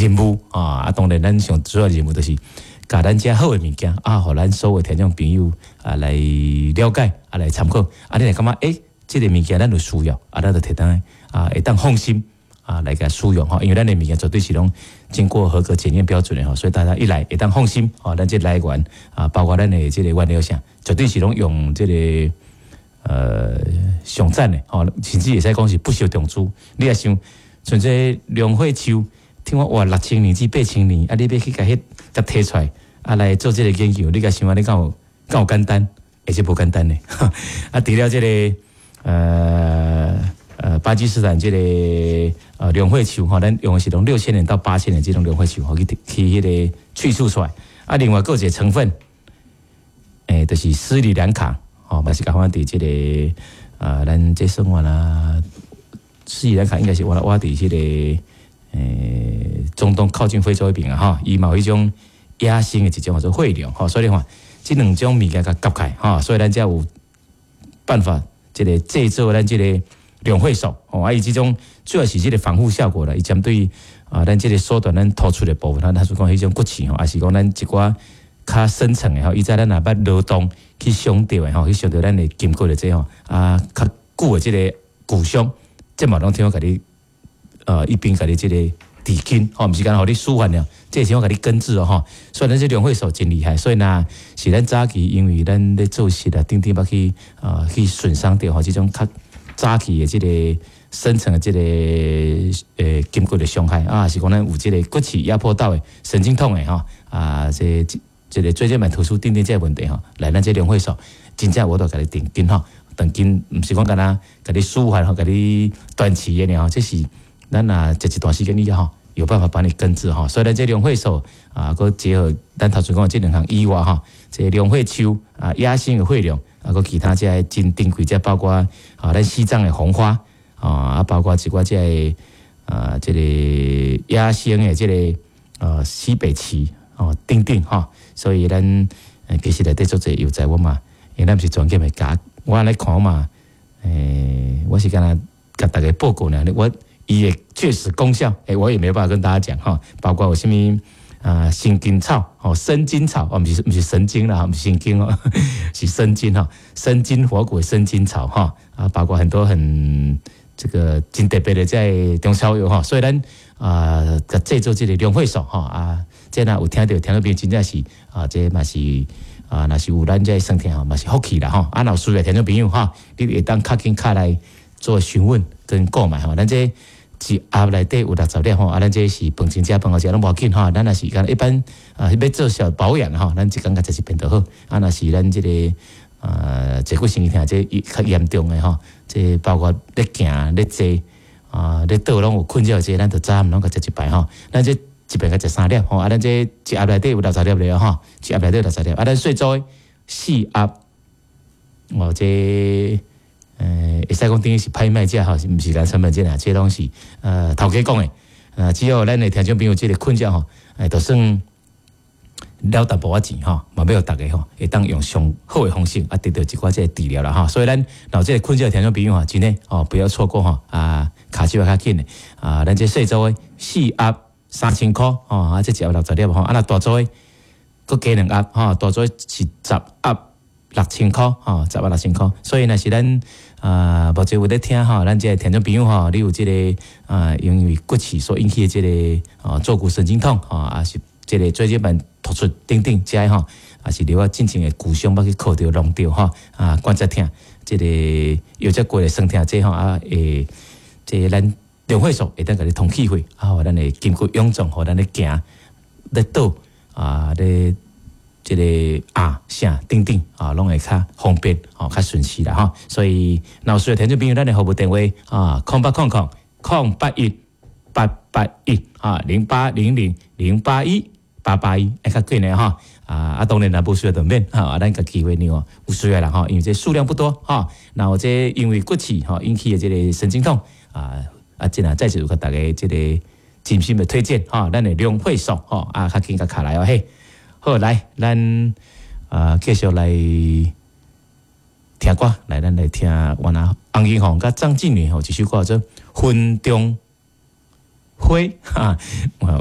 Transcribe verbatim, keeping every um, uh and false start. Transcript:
任務啊！啊，當然咱上主要任務就是共咱遮好的物件啊，予咱所有聽眾朋友啊來了解啊，來參考。啊，你會感覺欸，這个物件咱有需要啊，咱就提當啊，會當放心啊來共使用吼，因為咱的物件絕對是攏經過合格檢驗標準的吼，所以大家一來會當放心吼，咱這來源啊，包括咱的這個原料啥，絕對是攏用這個呃上讚的吼，甚至會使講是不惜重資。你若想像這龍血樹，聽講哇六千年至八千年，啊，你欲去共彼共提出來啊來做這個研究，你共想啊，你敢有敢有簡單？而且無簡單的。啊，除了這個呃呃巴基斯坦這個呃龍血樹吼，咱用的是攏六千年到八千年這種龍血樹吼去去彼个萃取出來。啊，另外閣有一個成分，欸，就是斯里蘭卡吼，嘛是共款佇這个呃，咱這算完啦，斯里蘭卡應該是我我佇這个欸中東靠近非洲彼邊啊，吼，伊嘛有彼種野生的一種叫做血龍吼，所以你看這兩種物件共夾起來吼，所以咱才有辦法這个製作咱這个龍血素吼，啊，伊這種主要是這个防護效果啦，伊針對啊，咱這个縮短咱突出的部分，咱他說講彼種骨刺吼，抑是講咱一寡較深層的吼，以前咱若捌勞動去傷著的吼，去傷著咱的筋骨的這吼，啊，較久的這个骨傷，這嘛攏聽講共你呃一邊共你這个治筋吼，毋是干焦予你舒緩了，這是我共你根治哦吼。所以咱這龍血素真厲害，所以呢，是咱早期因為咱咧做事啊，頂頂捌去啊去損傷著吼，這種較早期的這个深層的這个呃筋骨的傷害啊，是講咱有這个骨刺壓迫到的神經痛的吼啊，這這个椎間盤突出等等這个問題吼，來咱這龍血素真正有法度共你斷筋吼，斷筋毋是講干焦共你舒緩吼，共你斷氣的爾吼，這是咱若食一段時間以後，有辦法幫你根治吼。所以咱這龍血素啊，閣結合咱頭先講的這兩項以外吼，這龍血樹啊，野生的血龍啊，閣其他這个真珍貴，這包括啊，咱西藏的紅花啊，包括一寡這个啊，這个野生的這个呃西北芪哦，等等吼。所以咱其實內底足濟藥材我嘛，因為咱毋是專業的共我按呢看嘛，欸，我是干焦共大家報告呢，我伊的確實功效，欸，我也沒有辦法跟大家講吼，包括有啥物啊，神經草吼，生筋草哦，毋是毋是神經啦，毋是神經哦，是生筋吼，生筋活骨生筋草吼，啊，包括很多很這個真特別的這中草藥吼，所以咱啊，製作這个龍血素吼啊，這若有聽著聽眾朋友真正是啊，這嘛是啊，若是有咱這酸痛吼，嘛是福氣啦吼，啊，若有需要聽眾朋友吼，你會當較緊敲來做詢問跟購買吼，咱這一盒內底有六十粒吼，啊，咱這是飯前食飯後食攏無要緊吼，咱若是講一般啊，欲做小保養吼，咱一工共食一遍就好。啊，若是咱這个啊，坐骨神經痛這較嚴重的吼，這包括咧行咧坐啊咧倒攏有困擾這，咱就早暗攏共食一擺吼。咱這一擺共食三粒吼，啊，咱這一盒內底有六十粒了吼，一盒內底有六十粒，啊，咱細組的四盒，哦，這呃，會使講等於是拍賣價吼，毋是咱成本價啦，這攏是呃頭家講的。呃，只要咱的聽眾朋友這个困擾吼，欸，就算了淡薄仔錢吼，嘛欲予逐家吼，會當用上好的方式啊，得到一寡這个治療啦吼。所以咱若有這个困擾的聽眾朋友吼，真的哦，不要錯過吼啊，跤手較緊的啊，咱這細組的四盒三千箍吼，啊，這一盒六十粒吼，啊，若大組的閣加兩盒吼，大組是十盒六千箍吼，十盒六千箍。所以若是咱啊，目前有咧聽吼，咱這个聽眾朋友吼，你有這个啊，因為骨刺所引起的這个啊坐骨神經痛吼，啊是這个椎間盤突出等等，這吼，啊是留啊進前的骨傷，捌去磕著弄著吼，啊關節痛，這个腰脊骨的酸痛，這吼啊會這个咱龍血素會當共你通氣血，啊，予咱的筋骨臃腫，予咱咧行咧倒啊咧這个啊啥等等啊，攏會較方便吼，較順勢啦吼。所以若有需要聽眾朋友，咱的服務電話啊，空八空空空八一八八一啊，零八零零零八一八八一，會較緊的吼。啊啊，當然若無需要就免吼，啊，咱共機會讓有需要人吼，因為這數量不多吼。若有這因為骨刺吼引起的這个神經痛啊啊，這若再次有共大家這个真心的推薦吼，咱的龍血素吼啊，較緊共敲來哦嘿。好，來，咱啊繼續來聽歌，來咱來聽原來洪金鳳佮張靜女吼一首歌叫做《雲中花》哈。